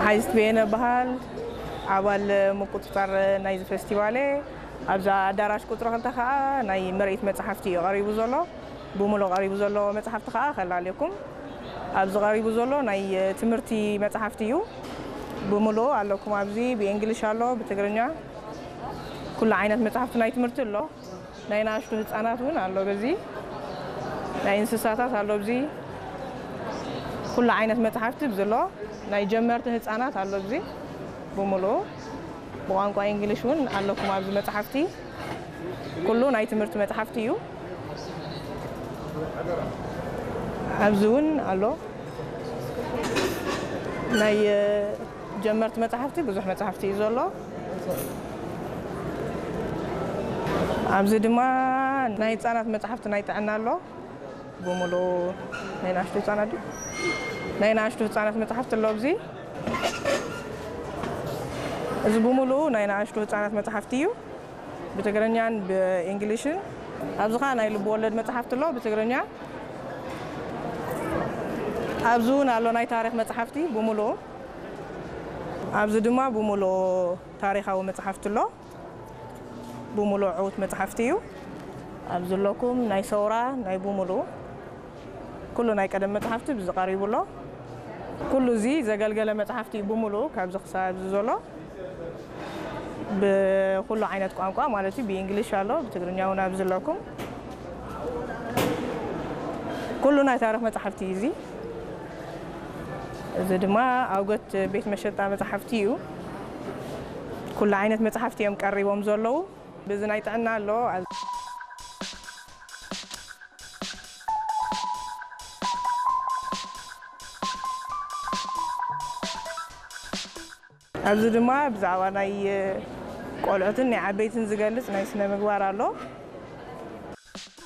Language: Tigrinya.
ሓይስት በየነ በሃል፣ ኣባል ምቁፅፃር ናይዚ ፌስቲቫል እየ። ኣብዛ ኣዳራሽ ቁፅሪ ክልተ ከዓ ናይ ምርኢት መፅሓፍቲ እዩ ቀሪቡ ዘሎ። ብምሉእ ቀሪቡ ዘሎ መፅሓፍቲ ከዓ ከላልየኩም። ኣብዚ ቀሪቡ ዘሎ ናይ ትምህርቲ መፅሓፍቲ እዩ። ብምሉእ ኣለኩም። ኣብዚ ብእንግሊሽ ኣሎ፣ ብትግርኛ፣ ኩሉ ዓይነት መፅሓፍቲ ናይ ትምህርቲ ኣሎ። ናይ ንኣሽቱ ህፃናት እውን ኣሎ። በዚ ናይ እንስሳታት ኣሎ። ኣብዚ ኩሉ ዓይነት መፅሓፍቲ ብዚ ኣሎ። ናይ ጀመርቲ ህፃናት ኣሎ። ኣብዚ ብምሉኡ ብቋንቋ እንግሊሽ እውን ኣለኩም። ኣብዚ መፅሓፍቲ ኩሉ ናይ ትምህርቲ መፅሓፍቲ እዩ። ኣብዚ እውን ኣሎ። ናይ ጀመርቲ መፅሓፍቲ ብዙሕ መፅሓፍቲ እዩ ዘሎ። ኣብዚ ድማ ናይ ህፃናት መፅሓፍቲ ናይ ጥዕና ኣሎ። ብምሉኡ ናይ ንኣሽቱ ህፃናት ድዩ? ናይ ንኣሽቱ ህፃናት መፅሓፍቲ ኣሎ። ኣብዚ እዚ ብምሉኡ ናይ ንኣሽቱ ህፃናት መፅሓፍቲ እዩ፣ ብትግርኛን ብእንግሊሽን። ኣብዚ ኸዓ ናይ ልብ ወለድ መፅሓፍቲ ኣሎ ብትግርኛ። ኣብዚ እውን ኣሎ ናይ ታሪክ መፅሓፍቲ ብምሉኡ። ኣብዚ ድማ ብምሉኡ ታሪካዊ መፅሓፍቲ ኣሎ። ብምሉእ ዕዉት መፅሓፍቲ እዩ። ኣብ ዘለኩም ናይ ሰውራ ናይ ብምሉኡ ኩሉ ናይ ቀደም መፅሓፍቲ ብዚ ቀሪቡ ኣሎ። ኩሉ እዚ ዘገልገለ መፅሓፍቲ እዩ ብምሉኡ ካብዚ ክሳብ እዚ ዘሎ ብኩሉ ዓይነት ቋንቋ ማለት እዩ። ብእንግሊሽ ኣሎ፣ ብትግርኛ እውን ኣብ ዘለኩም ኩሉ ናይ ታሪክ መፅሓፍቲ እዩ እዚ። እዚ ድማ ኣውገት ቤት መሸጣ መፅሓፍቲ እዩ። ኩሉ ዓይነት መፅሓፍቲ እዮም ቀሪቦም ዘለዉ። ብዚ ናይ ጥዕና ኣሎ። ኣብዚ ድማ ብዛዕባ ናይ ቆልዑትን ናይ ዓበይትን ዝገልጽ ናይ ስነ ምግባር ኣሎ።